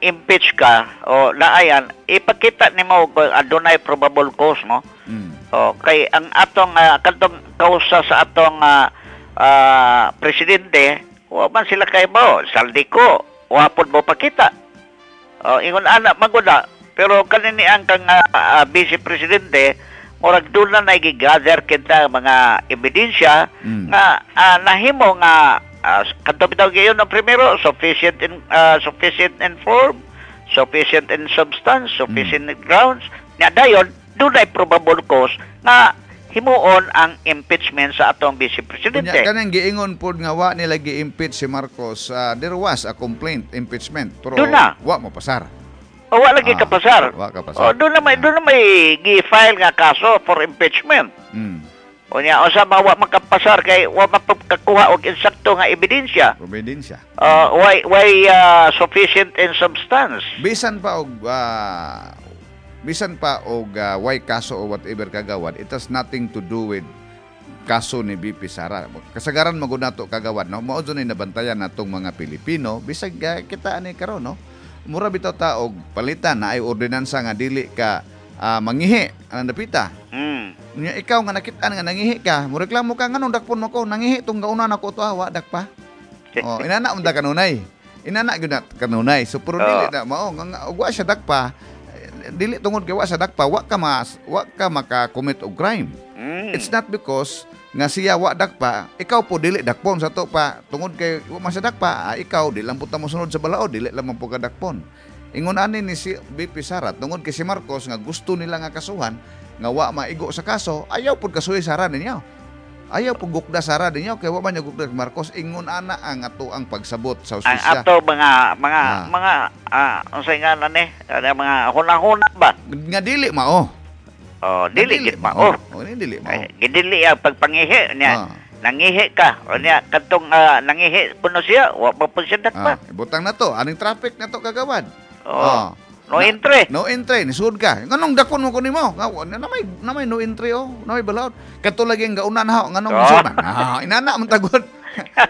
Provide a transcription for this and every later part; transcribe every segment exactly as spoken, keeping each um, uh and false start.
ma-impeach ka o naayan, ipakita nimo kung adunay probable cause, no? Mm. O kay ang atong uh, kadtong kausa sa atong ah, ah, presidente, wa man sila kay mo, Zaldy Co, wa pod mo pakita. O ingon ana maguda, pero kanini ang kang ah, ah, vice presidente, murag doon na nagi-gather kita mga ebidensya Mm. nga ah, nahimo nga uh, kadto bitaw gayon ang primero, sufficient in ah, sufficient in form, sufficient in substance, sufficient in grounds nya. Dayon dunay probable cause nga himuon ang impeachment sa atong vice presidente. Unya kanang giingon pod nga wa nila gi-impeach si Marcos, ah, there was a complaint impeachment pero Doon na. Wa mo pasar. O wa lagi Ah, kapasar. Wa kapasar. O doon na may doon na may gi-file nga kaso for impeachment. Mm. Unya usa ba wa makapasar kay wa mapakakuha og insakto nga ebidensya. Ebidensya. Uh, why why uh, sufficient in substance? Bisan pa og ah, bisan pa og ah, way kaso o whatever, kagawad, it has nothing to do with kaso ni V P Sara. Kasagaran magud nato, kagawad, no, mao jud ni nabantayan natong mga Pilipino bisag ah, kita ani karon, no. Mura bitaw ta og palitan na ay ordinansa nga dili ka ah, mangihi ang dapita. Mm. Nya ikaw nga nakit-an nga nangihi ka, mo reklamo ka, "Nganong dakpon mo ko? Nangihi tong gauna nako to, ah, wa dakpa." Oh, inana unta kanunay. Inana gyud na kanunay. So pero Oo. dili na mao nga nga, og wa siya dakpa, eh, dili tungod kay wa siya dakpa, wa ka mas wa ka maka-commit og crime. Mm. It's not because nga siya wa dakpa, ikaw po dili dakpon sa to pa tungod kay wa man siya dakpa, ah, ikaw di lang po ta mosunod sa balaod, dili lang man po ka dakpon. Ingon ani ni si V P Sara, tungod kay si Marcos nga gusto nila nga kasuhan nga wa maigo sa kaso, ayaw pud kasuhi Sara ninyo. Ayaw pud gukda Sara ninyo kay wa man niya gukda kay Marcos. Ingon ana ang ato ang pagsabot sa Ang hustisya. ato mga mga Ah. mga ah unsay nga na ni? Ano, mga hunahuna ba? Nga dili mao. Oh, Nga dili gid mao. Oh, dili mao. Ay, gidili ang pagpangihi niya. Ah. Nangihi ka. O niya kadtong ah, nangihi kuno siya, wa pa pud siya dakpa. Ah, ibutang na to, aning traffic na to, kagawad. Oh. Ah. No Na- entry. No entry, nisud ka. Nganong dakpon mo ko nimo? Nga wa- na may na may no entry oh, na may balaod. Kadto lagi ang gauna na ho, nganong Oh. nisud man? Ah, inana man tagod.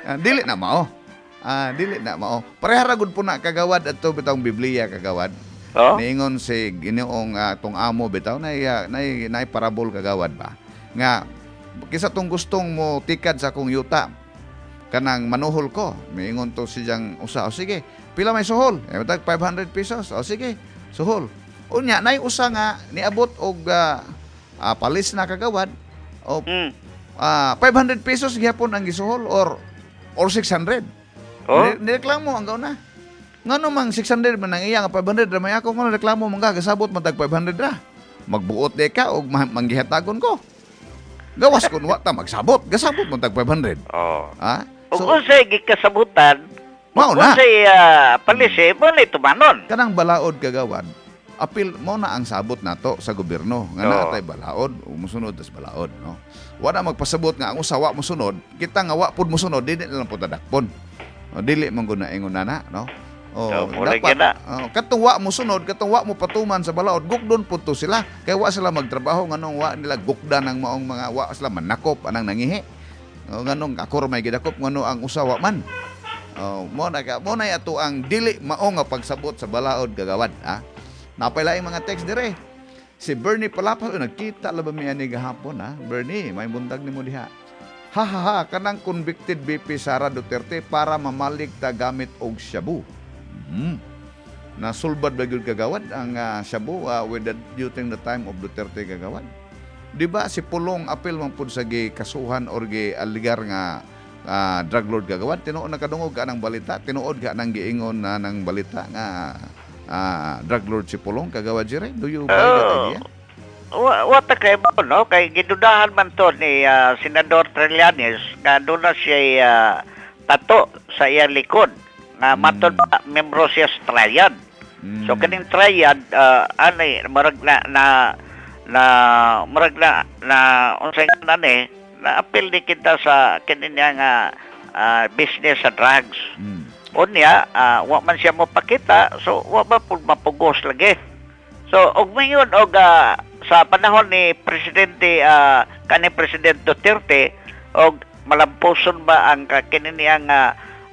Ah, dili na mao. Ah, dili na mao. Pareha ra gud po na, kagawad, adto bitawng Biblia, kagawad. Oh. Niingon si Ginoong uh, tong amo bitaw nay uh, nay nay parabol, kagawad ba. Nga kisa tong gustong mo tikad sa akong yuta kanang manuhol ko. Miingon to siyang usa, "O sige, pila may suhol?" Eh, tag five hundred pesos. "O sige, suhol." Unya nay usa nga niabot og ah, ah, palis na, kagawad. O Mm. ah, five hundred pesos gihapon ang gisuhol or or six hundred. Oh. Ni- Nireklamo ang gauna. Ngano mang six hundred man ang iya nga five hundred ra may ako, ngano reklamo man ka, gasabot man tag five hundred ra? Magbuot de ka og ma- manggihatagon ko. Gawas kun wa ta magsabot, gasabot man tag five hundred. Oh. Ha? Ug So unsay gikasabutan, Mao na. unsay uh, palisi mo ni tumanon. Kanang balaod, kagawad, apil mo na ang sabot nato sa gobyerno nga Oo. naa tay balaod ug mosunod tas balaod, no. Wala magpasabot nga ang usa wa mosunod, kita nga wa pud mosunod, dili na lang pud tadakpon. O, dili man gud na ingon nana, no. Oh, So, mura dapat gyud na. oh, katong wa mosunod, katong wa mo patuman sa balaod, gukdon pud to sila. Kay wa sila magtrabaho, nganong wa nila gukda ng maong mga wa sila manakop anang nangihi? O, nganong ako ra may gidakop, ngano ang usa wa man? Oh, mo na ka, mo na ato ang dili mao nga pagsabot sa balaod, kagawad, ha. Napay laing mga text dire. Si Bernie Palapas, oh, nagkita la ba mi ani gahapon, ha? Bernie, may buntag nimo diha. Ha ha ha, kanang convicted V P Sara Duterte para mamalig ta gamit og shabu. Hmm. Nasulbad ba gyud, kagawad, ang ah, shabu ah, with the, during the time of Duterte, kagawad? Di ba si Pulong apil man pud sa gi kasuhan or gi aligar nga ah, drug lord, kagawad? Tinuod nakadungog ka ng balita, tinuod ka ng giingon na ng balita nga ah, drug lord si Pulong, kagawad Jire? Do you buy that Oh. idea? Wa wa ta kay mo, no, kay gidudahan man to ni ah, Senador Trillanes nga doon na siya ah, tato sa iyang likod nga Mm. matod pa membro siya sa triad. Mm. So kaning triad uh, ani murag na na na murag na na unsay nga ni na apil ni kita sa kini niya nga ah, business sa drugs. Mm. Unya, ah, wa man siya mopakita, so wa ba pud mapugos lagi. So og mayon og ah, sa panahon ni presidente ah, kani President Duterte og malampuson ba ang ka- kini niya nga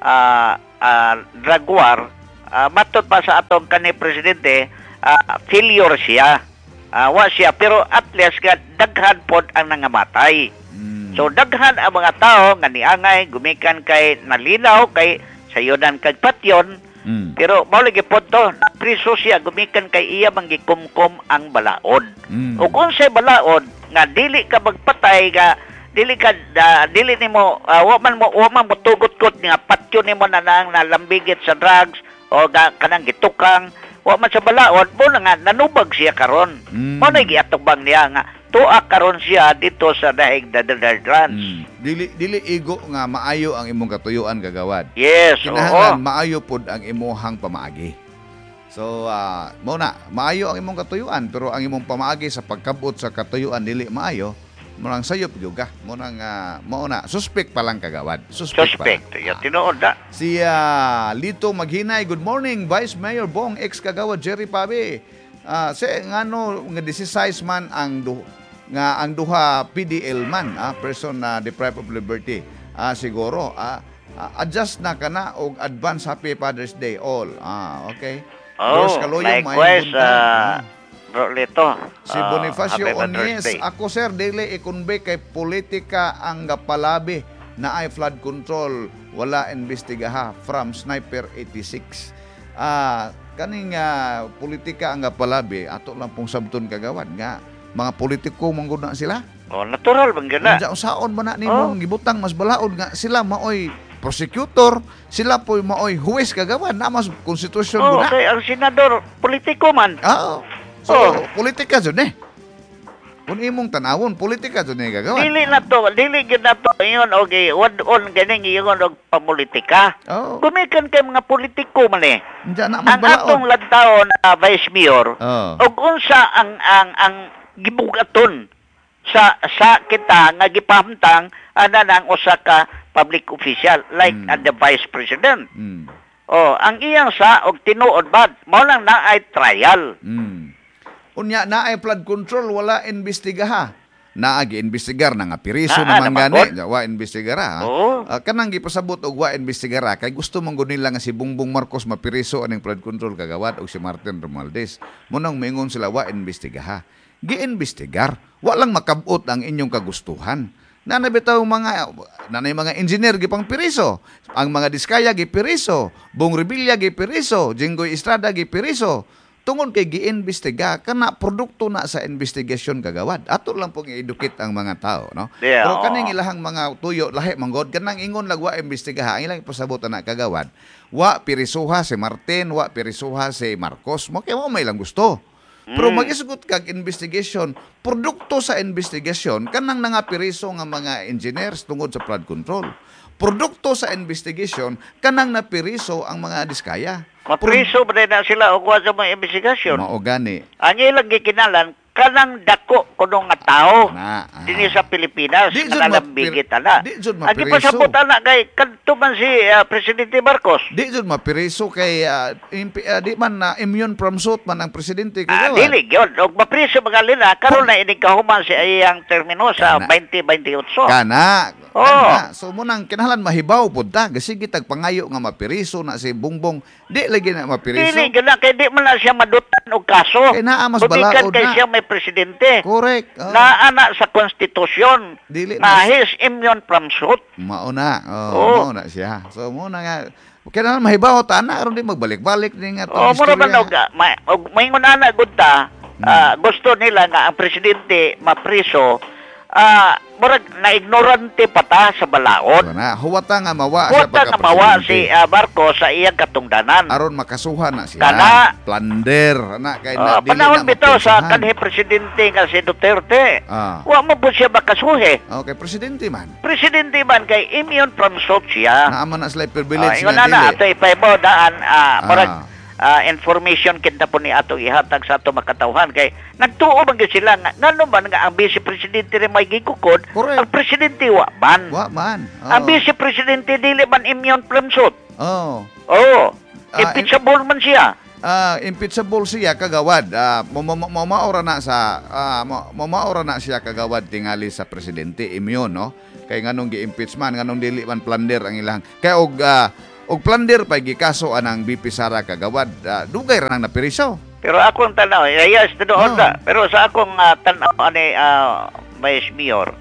ah, ah, drug war. uh, matod pa sa atong kani presidente, ah, failure siya. Ah, wa siya, pero at least nga daghan pod ang nangamatay. Mm. So daghan ang mga tao nga niangay gumikan kay nalinaw kay sayunan kag patyon, Mm. pero mao lagi pod to, priso siya gumikan kay iya man gikumkum ang balaod. Mm. Ug unsay balaod nga dili ka magpatay nga dili ka ah, dili nimo uh, wa man mo wa man motugot-got nga patyon nimo na nang nalambigit sa drugs o ga, kanang gitukang wa man sa balaod mo na nga nanubag siya karon. Mm. Mo na giatubang niya nga tuwa karon siya dito sa dahig the Netherlands. Mm. Dili dili igo nga maayo ang imong katuyuan, kagawad. Yes, oo. Kinahanglan maayo pod ang imuhang pamaagi. So, ah, mao na, maayo ang imong katuyuan, pero ang imong pamaagi sa pagkabot sa katuyuan dili maayo, mo nang sayop gyud ka. Mo nang ah, mao na, suspect pa lang, kagawad. Suspect, pa lang. Suspect. Ya, tinuod na. Si ah, Lito Maghinay, good morning, Vice Mayor Bong, ex kagawad Jerry Pabe. Ah, si ngano nga disize man ang du, nga ang duha P D L man, ah, person na deprived of liberty. Ah, siguro ah, ah, adjust na kana og advance happy Father's Day all. Ah, okay. Oh, Doors Kaloyong, maayong likewise, buntag. ah, Ah. Bro Lito. Si Ah, Bonifacio happy Father's Onies, Day. ako sir, dili i-convict kay politika ang gapalabi na ay flood control, wala imbestigaha, from Sniper eighty-six. Ah, kaning ah, politika ang gapalabi, ato lang pong sabton, kagawad, nga mga politiko man gud na sila. Oh, natural bang gana. Unsa usaon man na nimong gibutang mas balaod nga sila maoy prosecutor, sila po'y maoy huwes, kagawad, na mas konstitusyon Oh, gud na. kay ang senador politiko man. Oo. So, Oh. politika jud eh. Kung imong tanawon, politika jud ni, kagawad. Dili na to, dili gyud na to ingon og wad-on ganing ingon og pamulitika. Oo. Gumikan kay mga politiko man eh. Diyan na mas Ang balaod. atong lantaon na vice mayor Oo. og unsa ang ang ang gibugaton sa sa kita nga gipahamtang ana nang usa ka public official like Mm. uh, the vice president. Mm. Oh, ang iyang sa og tinuod bad mao lang na ay trial. Mm. Unya na ay flood control wala imbestigaha. Naa giimbestigar na nga piriso Naa naman naman gani, wa imbestigara. Ha? Oo. Ah, kanang gipasabot og wa imbestigara kay gusto man gud nila nga si Bongbong Marcos mapiriso aning flood control, kagawad, og si Martin Romualdez. Munang moingon sila wa imbestigaha. Giimbestigar, wa lang makabot ang inyong kagustuhan. Nana bitaw mga nanay mga engineer gipang piriso, ang mga Diskaya gipiriso, Bong Revilla gipiriso, Jinggoy Estrada gipiriso. Tungod kay giimbestiga kana, produkto na sa investigation, kagawad. Ato lang pong i-educate ang mga tao, no? Yeah, Pero oo. kaning ilahang mga tuyo lahi manggod kanang ingon lag wa imbestigaha, ang ilang ipasabot na kagawad. Wa pirisuha si Martin, wa pirisuha si Marcos, mo kay mo may lang gusto. Pero Mm. magisgot kag investigation, produkto sa investigation kanang nangapiriso nga mga engineers tungod sa flood control. Produkto sa investigation kanang napiriso ang mga Diskaya. Mapriso ba na sila og wa sa mga investigasyon? Mao gani. Ang ilang gikinalan kanang dako kuno nga tao Na, ah. dinhi sa Pilipinas Di jud nga nalambigit mapir- ana. di jud Ang mapiriso. gipasabot ana kay kadto man si ah, Presidente Marcos. Di jud mapiriso kay ah, impi- ah, di man na immune from suit man ang presidente, Ah, kagawad. dili gyud og mapriso mga lina karon na inig kahuman si iyang termino sa Kana. twenty twenty-eight. Kana. Oo. Kana. So munang kinahanglan mahibaw pud ta. Sige tag pangayo nga mapiriso na si Bongbong. Di lagi na mapiriso. Dili gyud na kay di man na siya madutan og kaso. Kay naa mas Gumikan balaod kay na. siya may presidente. Correct. Oh. Naa na sa konstitusyon Dili na na- he's immune from suit. Mao na. Oh, Oo. mao na siya. So mo na nga kinahanglan mahibaw ta na aron di magbalik-balik ni nga O tong mura man istorya. og ma, og maingon ana gud ta, Hmm. ah, gusto nila nga ang presidente mapriso, ah murag na ignorante pa ta sa balaod. So na, huwata nga mawa siya Huwata nga mawa pagka-presidente. si ah, Marcos sa iyang katungdanan. Aron makasuhan na siya. Kana. Plunder na kay na Ah, dili panahon na bitaw sa mapirisuhan. kanhi presidente nga si Duterte. Ah. Wa mo po siya makasuhi. Okay, presidente man. Presidente man kay immune from suit siya. Naa man na sila Ah, privilege ingon nga na na, dili. ato ipaibaw daan, ah, murag, Ah. ah, information kita po ni ato ihatag sa ato makatawhan kay nagtuo man gyud sila nga ngano man nga ang vice presidente rin may gikukod, Correct. ang presidente wa man. Wa man. Oo. Ang vice presidente dili man immune from suit. Oh. Oo. Ah, Impeachable man siya. Ah, impeachable siya, kagawad. Ah, mo na sa ah, mo mo- na siya, kagawad, tingali sa presidente immune, no? Kay nganong gi-impeach man, nganong dili man plunder ang ilang. Kay og ah, Og plunder pa gikaso anang V P Sara, kagawad. Ah, dugay ra nang napiriso. Pero akong tanaw, eh, yes, tinuod Oh. na. Pero sa akong ah, tanaw ani uh, Vice Mayor,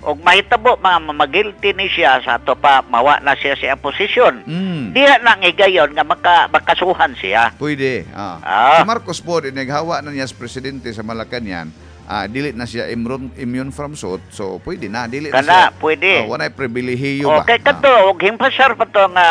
og mahitabo mga magilty ni siya sa ato pa mawa na siya sa posisyon. Mm. Diha na ang higayon nga maka, makasuhan siya. Pwede. Ah. Ah. Si Marcos po, naghawa na niya sa presidente sa Malacanang, ah, dili na siya immune, immune from suit, so pwede na. Dili na Kana, siya. pwede. Oh, walay pribilehiyo ba? Okay, kadto og himpasar pa to nga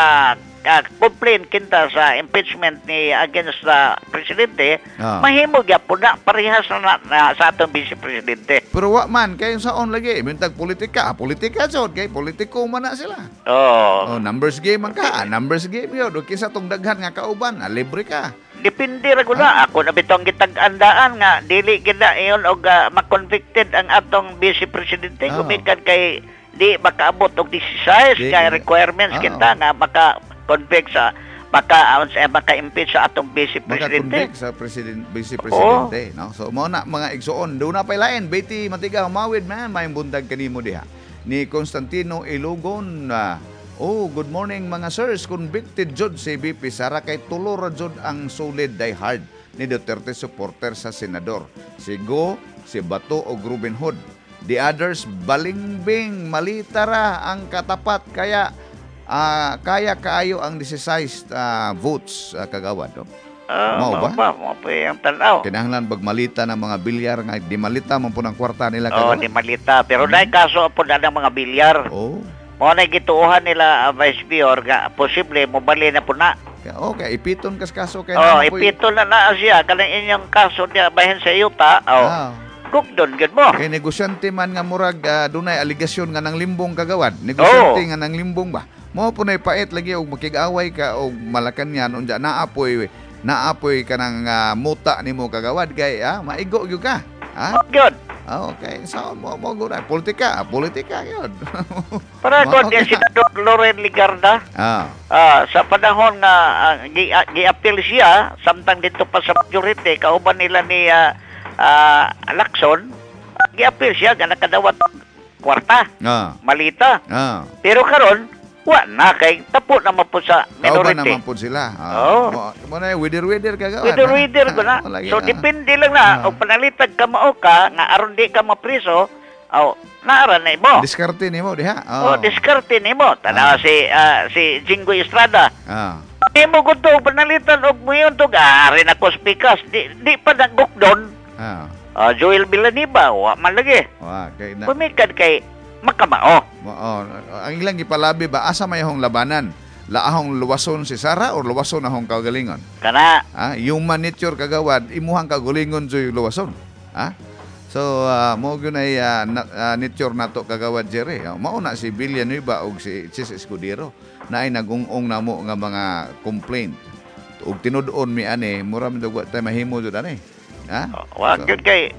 ah, complaint kinta sa impeachment ni against the presidente, Ah. mahimo gyapon na parehas na, na, na sa atong vice presidente. Pero wa man, kay saon lagi, mintag politika, ah, politika jud, kay politiko man na sila. Oh, Oh, numbers game man ka, ah, numbers game yun. O kinsa tong daghan nga kauban, ah, libre ka. Depende ra gud na. Ako na bitong gitag-andaan nga dili gid na iyon og ah, ma-convicted ang atong vice presidente Ah. gumikan kay di makaabot og sixteen Di- kay requirements Ah. kinta nga maka-convict sa maka eh, maka-impeach sa atong vice presidente. Maka-convict sa president, vice presidente, no? So mao na, mga igsuon, doon na pay lain. Betty Matiga Mawid man, maayong buntag kanimo diha. Ni Constantino Ilogon, ah, oh, good morning mga sirs. Convicted jud si V P Sara kay tulo ra jud ang solid die hard ni Duterte supporter sa senador. Si Go, si Bato o Ruben Hood. The others balingbing, malita ra ang katapat kaya ah, kaya kaayo ang sixteen ah, votes, ah, kagawad, no? Ah, Mao ba? Mao ba? Mao pa yung tanaw. Kinahanglan bag malita ng mga bilyar nga di malita man po ng kwarta nila, Oh, kagawad. di malita. Pero mm. kaso po na ng mga bilyar. Oh. Mao na gituohan nila, uh, Vice Mayor, nga posible mobali na po na. Kaya- Okay, ipiton kas kaso kay Oh, naman po'y- ipito na na siya kanang inyong kaso niya bahin sa yuta. Oh, Ah. gugdon gyud mo. Kay negosyante man nga murag ah, dunay aligasyon nga nang limbong, kagawad. Negosyante Oh. nga nang limbong ba. Mao po nay pait lagi og makig-away ka og Malacanang unja naapoy naapoy kanang ah, muta nimo, kagawad, kay ah, maigo gyud ka. Ha? Mao gyud. Ah, okay. So mo mo gud politika, politika gyud. Para Mao ko di ka. Senador Loren Legarda, Ah. ah, sa panahon nga ah, gi, ah, gi-appeal siya samtang dito pa sa majority kauban nila ni ah, ah, Lacson, ah, gi-appeal siya nga nakadawat og kwarta, Ah. malita. Ah. Pero karon wa na kay tapo naman po sa Kauban minority. naman po sila. Ah. Oo. Mo mo na wider-wider, kagawad. Wider-wider ko na. Ah, lagi, So ah. depende lang na Ah. og panalitag ka mao ka nga aron di ka mapriso, oh, naara na imo. Diskarte nimo diha. Oh, diskarte nimo. Tanawa Ah. si ah, si Jinggoy Estrada. Ah. Imo gud to panalitan og muyon to ari na pikas di, di pa nagukdon. Ah. Ah, Joel Villanueva wa man lagi. Wa kay na. Pumikan kay makamao. Mo, oh, ang ilang gipalabi ba, asa may ahong labanan? Laahong luwason si Sara or luwason ahong kaugalingon? Kana. Ah, human nature, kagawad, imuhang kaugalingon joy luwason. Ah? So, uh, mo gyud ay ah, na, ah, nature nato, kagawad Jerry. Uh, mao na si Villanueva og si Chis Escudero na ay nagungong namo nga mga complaint. Ug tinud-on mi ani, mura man wa tay mahimo jud ani. Ha? Wa So, gyud kay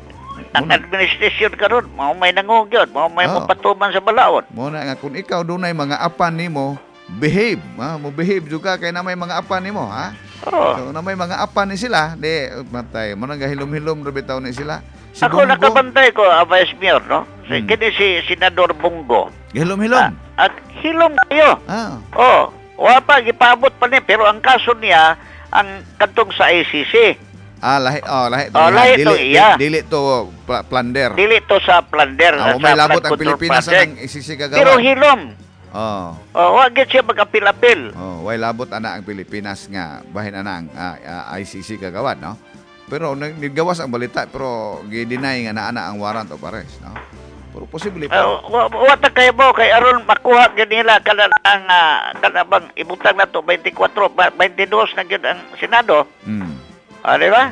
ang Muna. administration karon mao may nangog gyud, mao may Oo. mopatuman sa balaod. Mo na nga kung ikaw dunay mga apan nimo, behave, ha? Mo behave jud ka kay na may mga apan nimo, ha? Oh. So na may mga apan ni sila, di matay mo nang gahilom-hilom ra bitaw ni sila. Si Ako Bongo, nakabantay ko, ah, Vice Mayor, no? Si, Hmm. Kini si Senador Bong Go. Gahilom-hilom. Ah, at hilom kayo. Ah. Oh, wa pa gipaabot pa niya pero ang kaso niya ang kadtong sa I C C. Ah, lahi, oh, lahi to. Oh, iya. lahi dili, to, iya. Dili, dili to pla- plunder. Dili to sa plunder, Ah, sa may labot flood ang control Pilipinas sa project. nang I C C, kagawad. Pero hilom. Oh. Oh, wa gyud siya mag-apil-apil. Oh, way labot ana ang Pilipinas nga bahin ana ang ah, ah, I C C, kagawad, no? Pero nag- nigawas ang balita pero gi-deny nga naa na ang warrant of arrest, no? Pero posible pa. Uh, wa, wa ta kay mo kay aron makuha gyud nila kana ang uh, kana bang ibutang na to twenty-four ba- twenty-two na gyud ang Senado. Mm. Ah, di ba?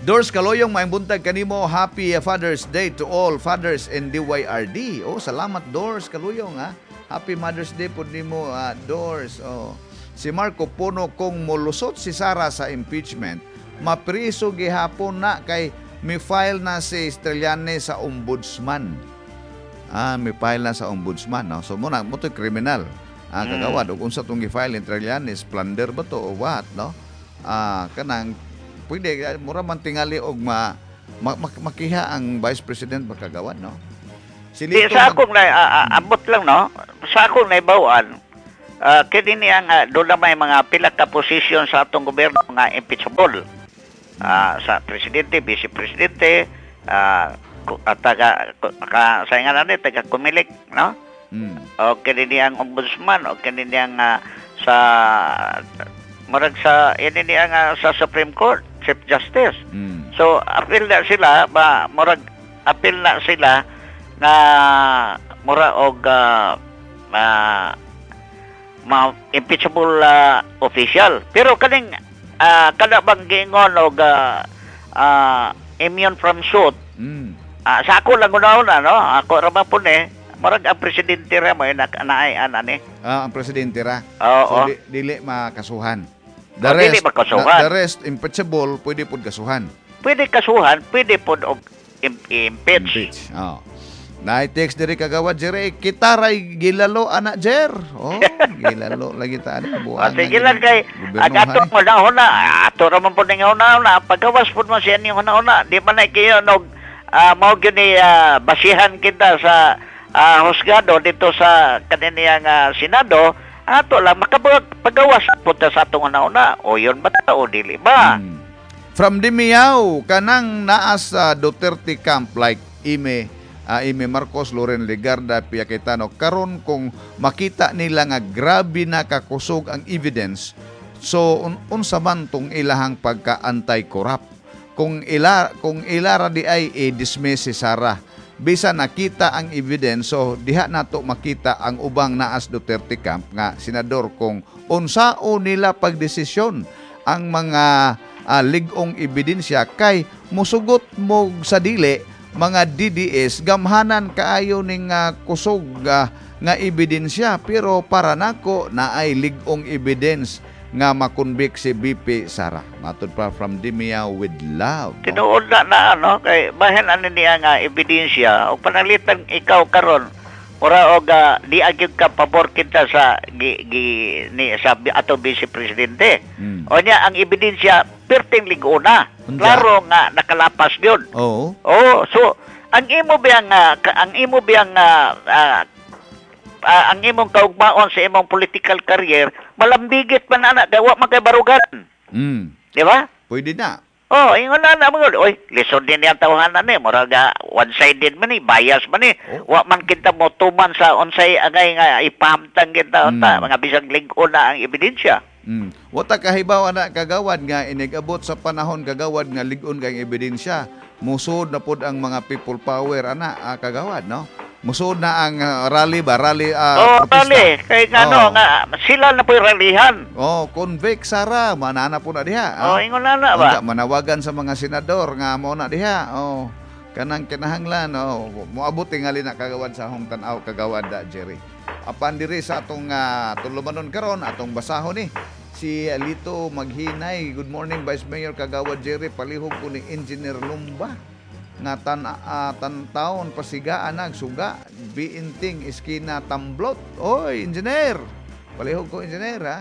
Doors Kaloyong, maayong buntag kanimo. Happy uh, Father's Day to all fathers in D Y R D. Oh, salamat, Doors Kaluyong, ha. Happy Mother's Day pod nimo, ah, Doors. Oh. Si Marco Puno, kung molusot si Sara sa impeachment, mapriso gihapon na kay mi file na si Trillanes sa ombudsman. Ah, may file na sa ombudsman, no? So mo na mo to criminal. Ah, Mm. kagawad ug unsa tong gi-file ni Trillanes, plunder ba to o what, no? Ah, kanang pwede mura man tingali og ma, ma, ma- makiha ang vice president ba, kagawad, no? Si Di, Lito sa mag- akong na, ah, ah, abot lang, no? Sa akong naibawaan, uh, kini niya nga doon na may mga pila ka posisyon sa atong gobyerno nga impeachable. Ah, sa presidente, vice presidente, ah, ku- at taga ku- ka, sa nga na taga Comelec, no? Mm. O kini niyang ombudsman o kini niyang ah, sa murag sa ini niya nga sa Supreme Court, Chief Justice. Mm. So apil na sila ba murag apil na sila nga mura og ah, ah, ma impeachable ah, official. Pero kaning ah, kada bang giingon og ah, ah, immune from suit Mm. ah, sa ako lang una no ako ra man po ni murag ang presidente ra mo na naay ana ni. Ah, ang presidente ra. Oo. So di, dili makasuhan. The Oh, dili rest, makasuhan. The, the rest impeachable pwede pud kasuhan. Pwede kasuhan, pwede pod og im- impeach. Impeach. Oh. Naay text diri kagawad Jerry, kita ray gilalo ana Jer. Oh, gilalo lagi ta ani Ah, buang. sige lang kay ang atong una-una, ato ra man pud ning una-una, pagawas pud man siya ning una-una, di man na kayo nog uh, mao gyud ni ah, basihan kita sa ah, husgado dito sa kaniniyang ah, Senado, ato lang makabag pagawas pud ta sa atong una-una. O yun ba ta o dili ba? Mm. From Dimiyaw, kanang naa sa Duterte camp like Imee, ah, Imee Marcos, Loren Legarda, Pia Cayetano, karon kung makita nila nga grabe na kakusog ang evidence, so un unsa man tong ilahang pagka-anti-corrupt. Kung ila kung ilara di ay i-dismiss si Sara. Bisa nakita ang evidence, so diha nato makita ang ubang naas Duterte camp nga senador kung unsao nila pagdesisyon ang mga ah, lig-ong ebidensya kay musugot mo sa dili mga D D S gamhanan kaayo ning ah, kusog ah, nga ebidensya pero para nako naay lig-ong evidence nga makonvict si V P Sara. Matod pa from Dimia with love. Tinuod na na ano kay bahin ani niya nga ebidensya o panalitan ikaw karon ora og ah, di agyud ka pabor kita sa gi, gi ni sa bi- ato vice presidente. Mm. O niya ang ebidensya perting lig-ona. Unsa? Klaro nga nakalapas yun. Oo. Oh, so ang imo biyang ah, ka- ang imo biyang ah, ah, ah, ang imong kaugmaon sa imong political career malambigit man ana gawa man kay barugan. Mm. Di ba? Pwede na. Oh, ingon na na mga oy, lisod din yang tawhanan ni, murag ah, one-sided man ni, bias man ni. Oh. Wa man kita mo tuman sa unsay angay nga ipahamtang kita unta, Mm. mga bisag lig-on na ang ebidensya. Mm. Wata kahibaw ana kagawad nga inigabot sa panahon kagawad nga lig-on kang ebidensya. Musod na pod ang mga people power ana ah, kagawad no. Musod na ang ah, rally ba rally ah, Oh, protesta. rally, kay ngano Oh. nga sila na po'y rallyhan. Oh, convict Sara, manana po na diha. Oh, ingon na na ba? Unta, manawagan sa mga senador nga mo na diha. Oh, kanang kinahanglan oh, moabot tingali na kagawad sa akong tan-aw kagawad da Jerry. Apan diri sa atong uh, tulumanon karon atong basahon ni si Alito Maghinay. Good morning, Vice Mayor Kagawad Jerry. Palihog ko ni Engineer Lumba nga tan uh, tan taon pasigaan nagsuga biinting iskina Tamblot. Oy, engineer. Palihog ko engineer ha.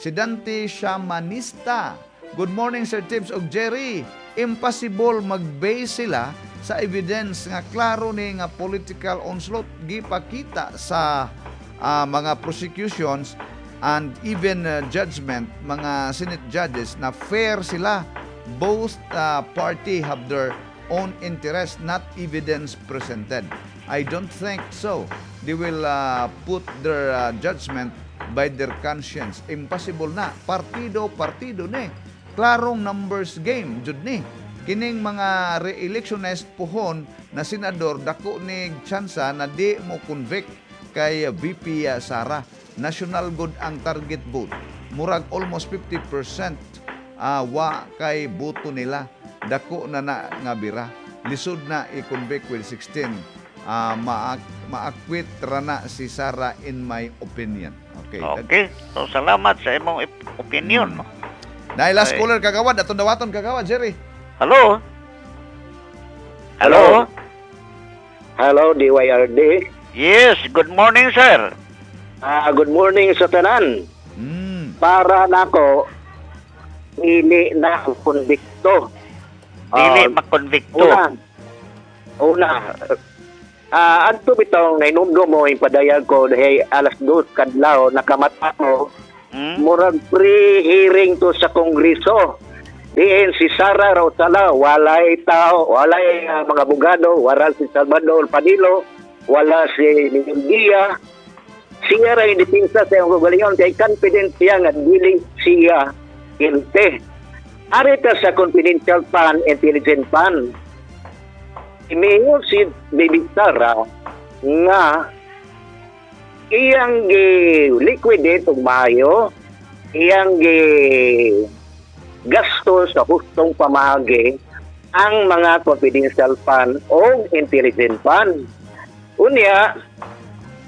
Si Dante Shamanista. Good morning, Sir Tips og Jerry. Impossible mag-base sila sa evidence nga klaro ni nga political onslaught gipakita sa ah, mga prosecutions and even uh, judgment mga Senate judges na fair sila. Both uh, party have their own interest, not evidence presented. I don't think so. They will uh, put their uh, judgment by their conscience. Impossible na partido partido ni klarong numbers game jud ni kining mga re-electionist puhon na senador dako ni tsansa na di mo convict kay V P Sara. National good ang target vote. Murag almost fifty percent ah, wa kay boto nila. Dako na na nga bira. Lisod na i-convict with sixteen. Ah, maak maakwit ra na si Sara in my opinion. Okay. Okay. So salamat sa imong ip- opinion. Mm. Dahil last Okay. caller kagawad, atong dawaton kagawad, Jerry. Hello? Hello? Hello, D Y R D. Yes, good morning, sir. Ah, good morning sa tanan. Mm. Para nako dili na konbikto. Dili Ah, makonvikto. Una, una, Ah, adto bitong nainumdum mo yung padayag ko hey, alas dos kadlaw nakamata ko Hmm? murag pre-hearing to sa Kongreso. Diin si Sara Rautala, walay tao, walay ah, mga abogado, wala si Salvador Panelo, wala si Mindia. Siya ra yung depensa sa iyang kaugalingon kay confident siya nga dili siya guilty. Ari ta sa confidential fund, intelligent fund. Imingon si Baby Sara nga iyang gi-liquidate og maayo, iyang gi gasto sa hustong pamaagi ang mga confidential fund o intelligent fund. Unya,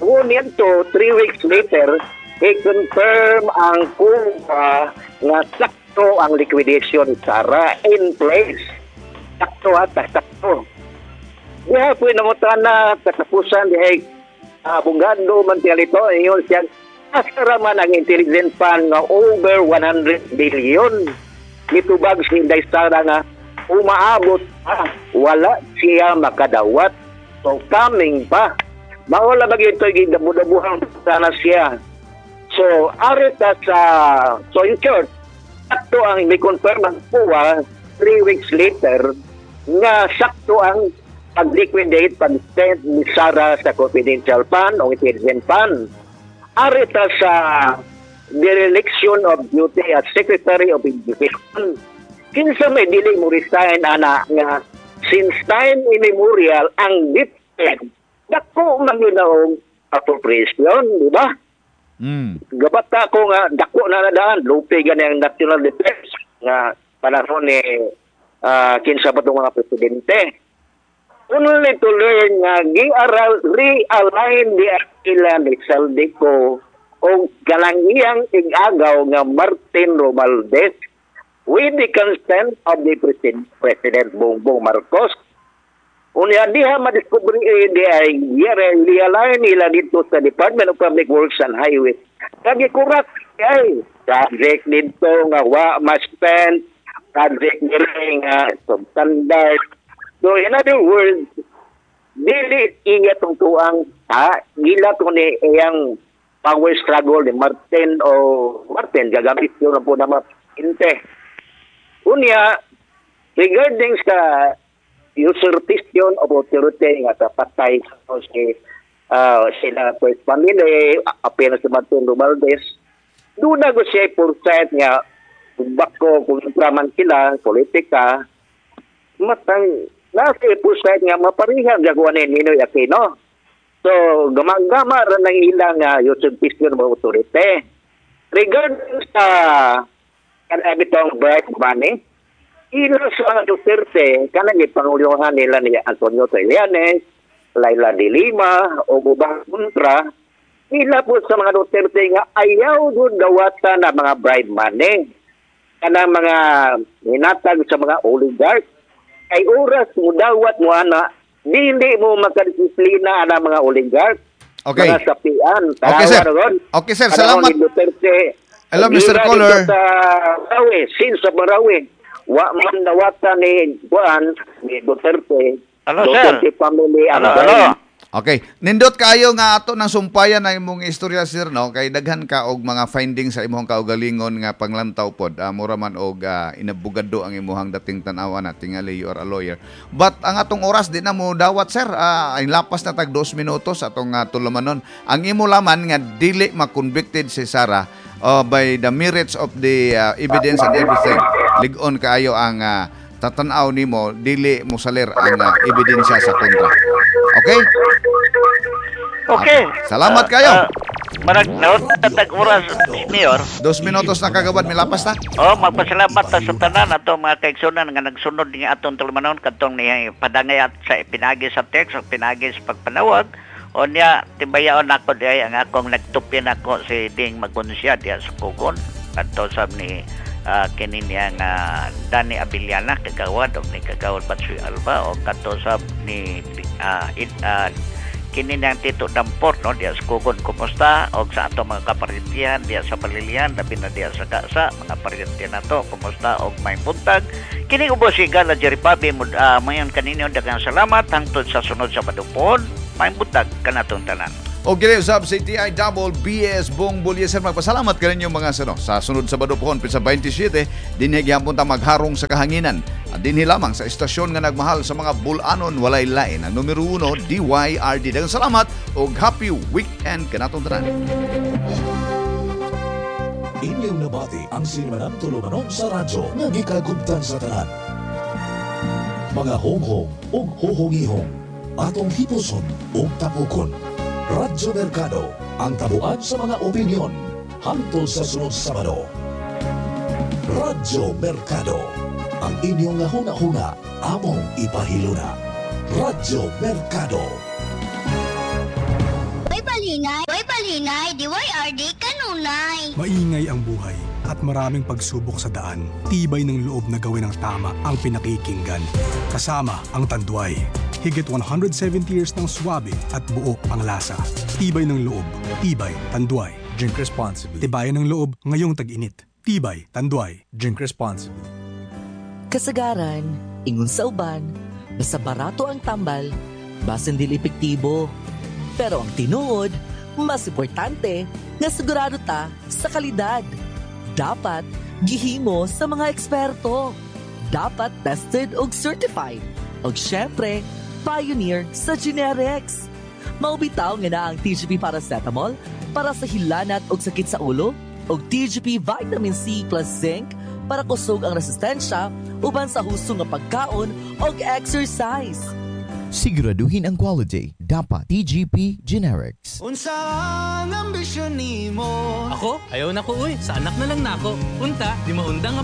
unya to, three weeks later, i-confirm ang C O A nga sakto ang liquidation, Sara, in place. Sakto at sakto. Diha po nangutana katapusan diha abogado man siya ito, ingon siya asa man ang intelligent fund nga over one hundred billion. Nitubag si Inday Sara nga umaabot pa, wala siya makadawat. So coming pa. Mawala ba ito gidabu-dabuhan sana siya. So ari ta sa so in short, sakto ang may confirm ang C O A three weeks later nga sakto ang pag-liquidate, pag-send ni Sara sa confidential fund o intelligent fund. Ari ta sa dereliction of duty as Secretary of Education. Kinsa may dili mo resign ana nga since time immemorial ang DepEd dako man yun og appropriation, di ba? Mm. Gabata ko nga dako na nadaan lupi gani ang national defense nga panahon ni ah, kinsa ba tong mga presidente, only to learn nga giaral realign di ila ni Zaldy Co o kalangiyang ig-agaw nga Martin Romualdez with the consent of the President, President Bongbong Marcos. Unya diha madiscover eh, di ay realign nila dito sa Department of Public Works and Highways. Kagi kurak ay project dito nga wa ma-spend, project nila nga substandard. So in other words, dili iya tong tuang ha, gila to ni iyang power struggle ni Martin o Martin gagamit yun na po na inte. Unya, regarding sa usurpation of authority nga sa patay sa si uh, sila first family, apil na si Martin Romualdez, doon na ko siya percent nga bako kung man sila, politika, matang nasa percent nga maparihan gagawa ni Ninoy Aquino. So, gamagama ra ng ilang uh, usurpation of authority. Regarding sa kanabitong bribe money, ila sa mga Duterte, kanang ipanguluhan nila ni Antonio Trillanes, Leila de Lima, o ubang kontra, ila po sa mga Duterte nga ayaw gud dawatan na mga bribe money. Kanang mga hinatag sa mga oligarch. Kay oras mo dawat mo ana, dili mo makadisiplina ana mga oligarch. Okay. Mga sapian. Okay, sir. Tanawa ron. Okay, sir. Panahon Salamat. ni Duterte. Hello, Mister Gira Caller. dito sa Marawi, since sa Marawi, wa man dawatan ni Juan, ni Duterte. Hello, sir. Duterte family ang Hello, hello. Okay. Nindot kaayo nga ato ng sumpayan ang imong istorya, sir, no, kay daghan ka og mga findings sa imong kaugalingon nga panglantaw pod. Uh, mura man og uh, inabugado ang imong dating tan-awa na tingali you are a lawyer. But ang atong oras di na mo dawat, sir. Uh, ay lapas na tag dos minutos atong uh, tulumanon. Ang imo laman nga dili ma-convicted si Sara uh, by the merits of the uh, evidence and everything. Lig-on kaayo ang uh, tatanaw nimo dili mosalir ang uh, ebidensya sa kontra. Okay? Okay. Salamat kayo. Uh, marag naot tag oras, Mayor. Dos minutos na, kagawad, milapas na. Oh, magpasalamat ta sa tanan ato mga kaigsunan nga nagsunod ni atong tulumanon kadtong ni padangay at sa pinagi sa text o pinagi sa pagpanawag. O niya tibayaon nako diay ang akong nagtupin ako si Ding Magunsya diya sa Kugon kadto sab ni uh, kini niya nga Danny Abiliana kagawad og ni kagawad Batsuy Alba o kadto sab ni uh, it, uh, kini niyang Tito Damport no diya sa Kugon, kumusta? Og sa ato mga kaparintihan diya sa Balilihan, labi na diya sa Kasa, mga parintihan nato, kumusta og may buntag. Kini ubos si Gala Jerry Pabi uh, mayon kaninyo, daghang salamat hangtod sa sunod sa madupon. Maayong buntag kanatong tanan. O gini usab si T I Double B S Bong Bulyeser, magpasalamat kaninyo mga sano. Sa sunod Sabado pohon sa twenty-seven, dinhi gihapon ta magharong sa kahanginan. At dinhi lamang sa istasyon nga nagmahal sa mga bulanon, walay lain. Ang numero uno, D Y R D. Daghang salamat ug happy weekend kanatong tanan. Inyong nabati ang sinimanang tulumanon sa radyo nga gikagubtan sa tanan. Mga honghong ug huhungihong, atong hipuson ug tapukon. Radyo Mercado, ang tabuan sa mga opinyon. Hangtod sa sunod Sabado. Radyo Mercado, ang inyong huna-huna, among ipahiluna. Radyo Mercado. Way palinay, way palinay, D Y R D kanunay. Maingay ang buhay at maraming pagsubok sa daan. Tibay ng loob na gawin ang tama ang pinakikinggan. Kasama ang Tanduay. Higit one hundred seventy years ng swabe at buo ang lasa. Tibay ng loob. Tibay Tanduay. Drink responsibly. Tibayan ng loob ngayong tag-init. Tibay Tanduay. Drink responsibly. Kasagaran, ingon sa uban, basta barato ang tambal, basin dili epektibo. Pero ang tinuod, mas importante nga sigurado ta sa kalidad. Dapat gihimo sa mga eksperto. Dapat tested ug certified. Ug syempre, pioneer sa generics. Mao bitaw nga naa ang T G P Paracetamol para sa hilanat ug sakit sa ulo ug T G P Vitamin C plus Zinc para kusog ang resistensya uban sa husto nga pagkaon ug exercise. Siguraduhin ang quality. Dapat T G P Generics. Unsa ang ambisyon nimo? Ako? Ayaw na ko uy. Sa anak na lang nako. Unta, di maundang ang